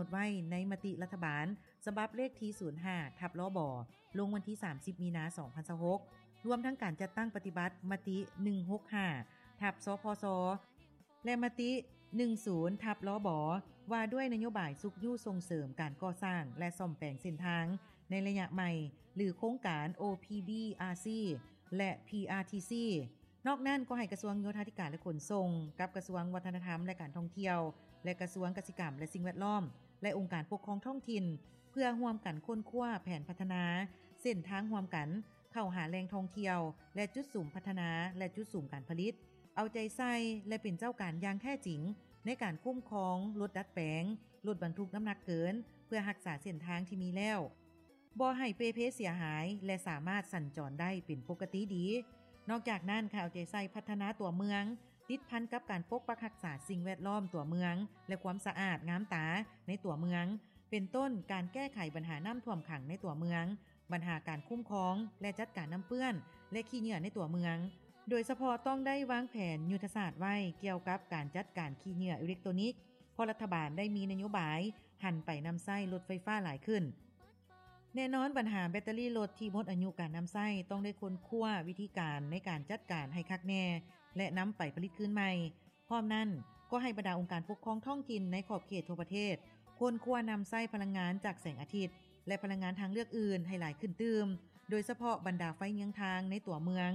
ດໄວ້ໃນມະຕິລັດຖະບານ ສະບັບເລກທີ ສູນຫ້າ ທັບ ລບ ລົງວັນທີ ສາມສິບ ມີນາ ສອງພັນຊາວຫົກ ລວມທັງການຈັດຕັ້ງປະຕິບັດມະຕິ ໜຶ່ງຫົກຫ້າ ທັບ ສພຊ ແລະ ມະຕິ ໜຶ່ງສູນ ທັບ ລບ ວ່າດ້ວຍນະໂຍບາຍຊຸກຍູ້ສົ່ງເສີມການກໍ່ສ້າງ ແລະ ສ້ອມແປງເສັ້ນທາງໃນໄລຍະໃໝ່ ຫຼື ໂຄງການ ໂອພີບີອາຊີ ແລະ ພີອາທີຊີ. ນອກນັ້ນກໍໃຫ້ກະຊວງໂຍທາທິການ ແລະ ຂົນສົ່ງ ກັບກະຊວງວັດທະນະທຳ ແລະ ການທ່ອງທ່ຽວ ແລະ ກະຊວງກະສິກຳ ແລະ ສິ່ງແວດລ້ອມ ແລະ ອົງການປົກຄອງທ້ອງຖິ່ນ ເພື່ອຮ່ວມກັນຄົ້ນຄວ້າແຜນພັດທະນາເສັ້ນທາງຮ່ວມກັນ ເຂົ້າຫາແຫຼ່ງທ່ອງທ່ຽວ ແລະ ຈຸດສຸມພັດທະນາ ແລະ ຈຸດສຸມການຜະລິດ, ເອົາໃຈໃສ່ ແລະ ເປັນເຈົ້າການຢ່າງແທ້ຈິງ ໃນການຄຸ້ມຄອງລົດດັດແປງ, ລົດບັນທຸກນ້ຳໜັກເກີນ ເພື່ອຮັກສາເສັ້ນທາງທີ່ມີແລ້ວ, ບໍ່ໃຫ້ເປ່ເພເສຍຫາຍ ແລະ ສາມາດສັນຈອນໄດ້ເປັນປົກກະຕິດີ. ນອກຈາກນັ້ນ, ໃຫ້ເອົາໃຈໃສ່ພັດທະນາຕົວເມືອງ ຕິດພັນກັບການປົກປັກຮັກສາສິ່ງແວດລ້ອມຕົວເມືອງ ແລະ ຄວາມສະອາດງາມຕາໃນຕົວເມືອງ, ເປັນຕົ້ນ ການແກ້ໄຂບັນຫານ້ຳຖ້ວມຂັງໃນຕົວເມືອງ, ບັນຫາການຄຸ້ມຄອງ ແລະ ຈັດການນ້ຳເປື້ອນ ແລະ ຂີ້ເຫຍື້ອໃນຕົວເມືອງ. ໂດຍສະເພາະຕ້ອງໄດ້ວາງແຜນຍຸດທະສາດໄວ້ກ່ຽວກັບການຈັດການຂີ້ເຫຍື້ອອີເລັກໂຕນິກ, ເພາະລັດຖະບານໄດ້ມີນະໂຍບາຍຫັນໄປນຳໃຊ້ລົດໄຟຟ້າຫຼາຍຂຶ້ນ. ແນ່ນອນ, ບັນຫາແບັດເຕີຣີລົດທີ່ໝົດອາຍຸການນຳໃຊ້ ຕ້ອງໄດ້ຄົ້ນຄວ້າວິທີການໃນການຈັດການໃຫ້ຄັກແນ່ ແລະ ນຳໄປຜະລິດຄືນໃໝ່. ພ້ອມນັ້ນ, ກໍໃຫ້ບັນດາອົງການປົກຄອງທ້ອງຖິ່ນໃນຂອບເຂດທົ່ວປະເທດ ຄົ້ນຄວ້ານຳໃຊ້ພະລັງງານຈາກແສງອາທິດ ແລະ ພະລັງງານທາງເລືອກອື່ນໃຫ້ຫຼາຍຂຶ້ນຕື່ມ, ໂດຍສະເພາະບັນດາໄຟເຍືອງທາງໃນຕົວເມືອງ,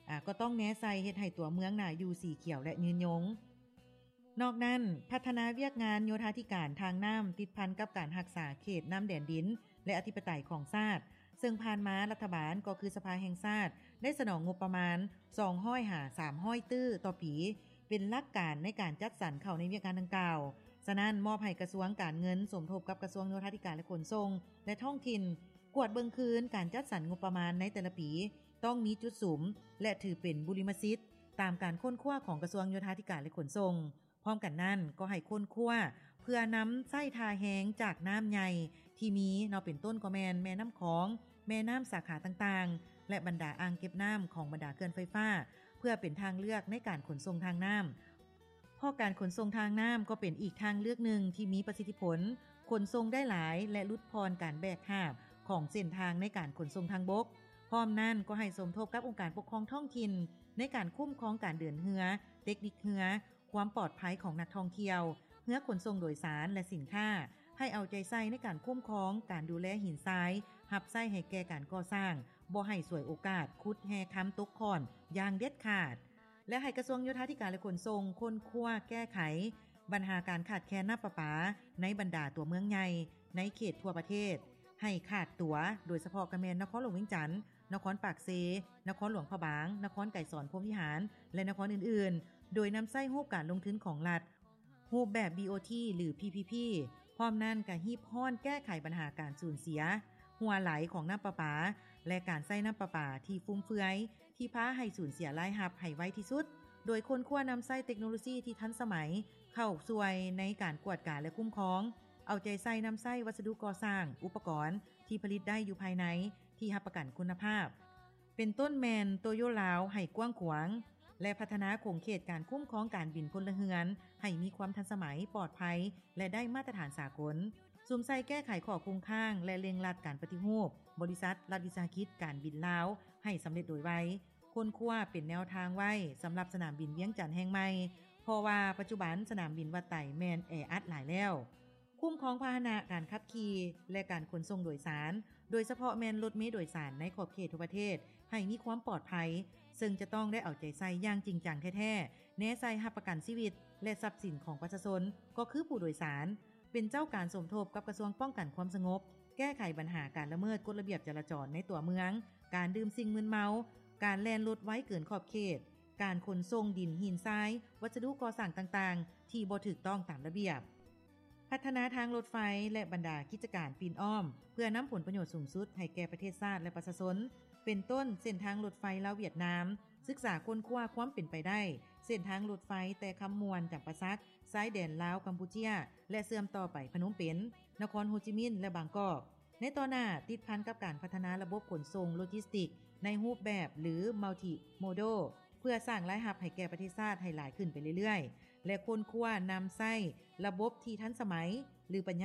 ອາ, ກໍຕ້ອງແນໃສ່ເຮັດໃຫ້ຕົວເມືອງໜ້າຢູ່, ສີຂຽວ ແລະ ຍືນຍົງ. ນອກນັ້ນ, ພັດທະນາວຽກງານໂຍທາທິການທາງນ້ຳ ຕິດພັນກັບການຮັກສາເຂດນ້ຳແດນດິນ ແລະ ອະທິປະໄຕຂອງຊາດ, ເຊິ່ງຜ່ານມາລັດຖະບານ ກໍຄືສະພາແຫ່ງຊາດ ໄດ້ສະໜອງງົບປະມານ ສອງຮ້ອຍຫາສາມຮ້ອຍຕື້ຕໍ່ປີ ເປັນຫຼັກການໃນການຈັດສັນເຂົ້າໃນວຽກງານດັ່ງກ່າວ. ສະນັ້ນ, ມອບໃຫ້ກະຊວງການເງິນສົມທົບກັບກະຊວງໂຍທາທິການ ແລະ ຂົນສົ່ງ ແລະ ທ້ອງຖິ່ນ ກວດເບິ່ງຄືນການຈັດສັນງົບປະມານໃນແຕ່ລະປີ, ຕ້ອງມີຈຸດສຸມ ແລະ ຖືເປັນບຸລິມະສິດ ຕາມການຄົ້ນຄວ້າຂອງກະຊວງໂຍທາທິການ ແລະ ຂົນສົ່ງ. ພ້ອມກັນນັ້ນ, ກໍໃຫ້ຄົ້ນຄວ້າເພື່ອນຳໃຊ້ທ່າແຮງຈາກນ້ຳໃຫຍ່ທີ່ມີເນາະ, ເປັນຕົ້ນກໍແມ່ນແມ່ນ້ຳຂອງ, ແມ່ນ້ຳສາຂາຕ່າງໆ ແລະ ບັນດາອ່າງເກັບນ້ຳຂອງບັນດາເຂື່ອນໄຟຟ້າ ເພື່ອເປັນທາງເລືອກໃນການຂົນສົ່ງທາງນ້ຳ. ເພາະການຂົນສົ່ງທາງນ້ຳກໍເປັນອີກທາງເລືອກໜຶ່ງທີ່ມີປະສິດທິຜົນ, ຂົນສົ່ງໄດ້ຫຼາຍ ແລະ ຫຼຸດຜ່ອນການແບກຫາບຂອງເສັ້ນທາງໃນການຂົນສົ່ງທາງບົກ. ພ້ອມນັ້ນ, ກໍໃຫ້ສົມທົບກັບອົງການປົກຄອງທ້ອງຖິ່ນໃນການຄຸ້ມຄອງການເດີນເຮືອ, ເຕັກນິກເຮືອ, ຄວາມປອດໄພຂອງນັກທ່ອງທ່ຽວ, ເຮືອຂົນສົ່ງໂດຍສານ ແລະ ສິນຄ້າ, ໃຫ້ເອົາໃຈໃສ່ໃນການຄຸ້ມຄອງ, ການດູແລຫີນຊາຍ, ຮັບໃຊ້ໃຫ້ແກ່ການກໍ່ສ້າງ, ບໍ່ໃຫ້ສວຍໂອກາດຂຸດແຮ່ຄຳຕົກຂ້ອນຢ່າງເດັດຂາດ ແລະ ໃຫ້ກະຊວງໂຍທາທິການ ແລະ ຂົນສົ່ງ ຄົ້ນຄວ້າແກ້ໄຂບັນຫາການຂາດແຄນນ້ຳປະປາໃນບັນດາຕົວເມືອງໃຫຍ່ໃນເຂດທົ່ວປະເທດ ໃຫ້ຂາດຕົວ, ໂດຍສະເພາະກະແມ່ນນະຄອນຫຼວງວຽງຈັນ, ນະຄອນປາກເຊ, ນະຄອນຫຼວງພະບາງ, ນະຄອນໄກສອນພົມວິຫານ ແລະ ນະຄອນອື່ນໆ, ໂດຍນຳໃຊ້ຮູບການລົງທຶນຂອງລັດ, ຮູບແບບ ບີໂອທີ ຫຼື ພີພີພີ. ພ້ອມນັ້ນກະຮີບຮ້ອນແກ້ໄຂບັນຫາການສູນເສຍຮົ່ວໄຫຼຂອງນ້ຳປະປາ ແລະ ການໃຊ້ນ້ຳປະປາທີ່ຟຸມເຟືອຍ ທີ່ພາໃຫ້ສູນເສຍລາຍຮັບໃຫ້ໄວທີ່ສຸດ, ໂດຍຄົ້ນຄວ້ານຳໃຊ້ເຕັກໂນໂລຊີທີ່ທັນສະໄໝເຂົ້າຊ່ວຍໃນການກວດກາ ແລະ ຄຸ້ມຄອງ, ເອົາໃຈໃສ່ນຳໃຊ້ວັດສະດຸກໍ່ສ້າງ, ອຸປະກອນທີ່ຜະລິດໄດ້ຢູ່ພາຍໃນ ທີ່ຮັບປະກັນຄຸນນະພາບ ເປັນຕົ້ນແມ່ນໂຕໂຢລາວໃຫ້ກວ້າງຂວາງ ແລະ ພັດທະນາຂົງເຂດການຄຸ້ມຄອງການບິນພົນລະເຮືອນໃຫ້ມີຄວາມທັນສະໄໝ, ປອດໄພ ແລະ ໄດ້ມາດຕະຖານສາກົນ, ສຸມໃສ່ແກ້ໄຂຂໍ້ຄົງຄ້າງ ແລະ ເລັ່ງລັດການປະຕິຮູບບໍລິສັດລັດວິສາຫະກິດການບິນລາວໃຫ້ສຳເລັດໂດຍໄວ, ຄົ້ນຄວ້າເປັນແນວທາງໄວ້ສຳລັບສະໜາມບິນວຽງຈັນແຫ່ງໃໝ່, ເພາະວ່າປັດຈຸບັນສະໜາມບິນວັດໄຕແມ່ນແອອັດຫຼາຍແລ້ວ. ຄຸ້ມຄອງພາຫະນະການຂັບຂີ່ ແລະ ການຂົນສົ່ງໂດຍສານ, ໂດຍສະເພາະແມ່ນລົດເມໂດຍສານໃນຂອບເຂດທົ່ວປະເທດ ໃຫ້ມີຄວາມປອດໄພ, ເຊິ່ງຈະຕ້ອງໄດ້ເອົາໃຈໃສ່ຢ່າງຈິງຈັງແທ້ໆ, ແນໃສ່ຮັບປະກັນຊີວິດ ແລະ ຊັບສິນຂອງປະຊາຊົນ ກໍຄືຜູ້ໂດຍສານ, ເປັນເຈົ້າການສົມທົບກັບກະຊວງປ້ອງກັນຄວາມສະຫງົບ, ແກ້ໄຂບັນຫາການລະເມີດກົດລະບຽບຈະລາຈອນໃນຕົວເມືອງ, ການດື່ມສິ່ງມຶນເມົາ, ການແລ່ນລົດໄວເກີນຂອບເຂດ, ການຂົນສົ່ງດິນ, ຫີນຊາຍ, ວັດສະດຸກໍ່ສ້າງຕ່າງໆ ທີ່ບໍ່ຖືກຕ້ອງຕາມລະບຽບ. ພັດທະນາທາງລົດໄຟ ແລະ ບັນດາກິດຈະການປິ່ນອ້ອມ ເພື່ອນຳຜົນປະໂຫຍດສູງສຸດໃຫ້ແກ່ປະເທດຊາດ ແລະ ປະຊາຊົນ, ເປັນຕົ້ນເສັ້ນທາງລົດໄຟລາວຫວຽດນາມ, ສຶກສາຄົ້ນຄວ້າຄວາມເປັນໄປໄດ້ເສັ້ນທາງລົດໄຟແຕ່ຄຳມ່ວນ, ຈຳປາສັກ, ຊາຍແດນລາວ-ກຳປູເຈຍ ແລະ ເຊື່ອມຕໍ່ໄປພະນົມເປັນ, ນະຄອນໂຮຈິມິນ ແລະ ບາງກອກ. ໃນຕໍ່ໜ້າ, ຕິດພັນກັບການພັດທະນາລະບົບຂົນສົ່ງໂລຈິສຕິກໃນຮູບແບບ ຫຼື Multimodal ເພື່ອສ້າງລາຍຮັບໃຫ້ແກ່ປະເທດຊາດໃຫ້ຫຼາຍຂຶ້ນໄປເລື້ອຍໆ ແລະ ຄົ້ນຄວ້ານຳໃຊ້ລະບົບທີ່ທັນສະໄໝ ຫຼື ປັນຍາ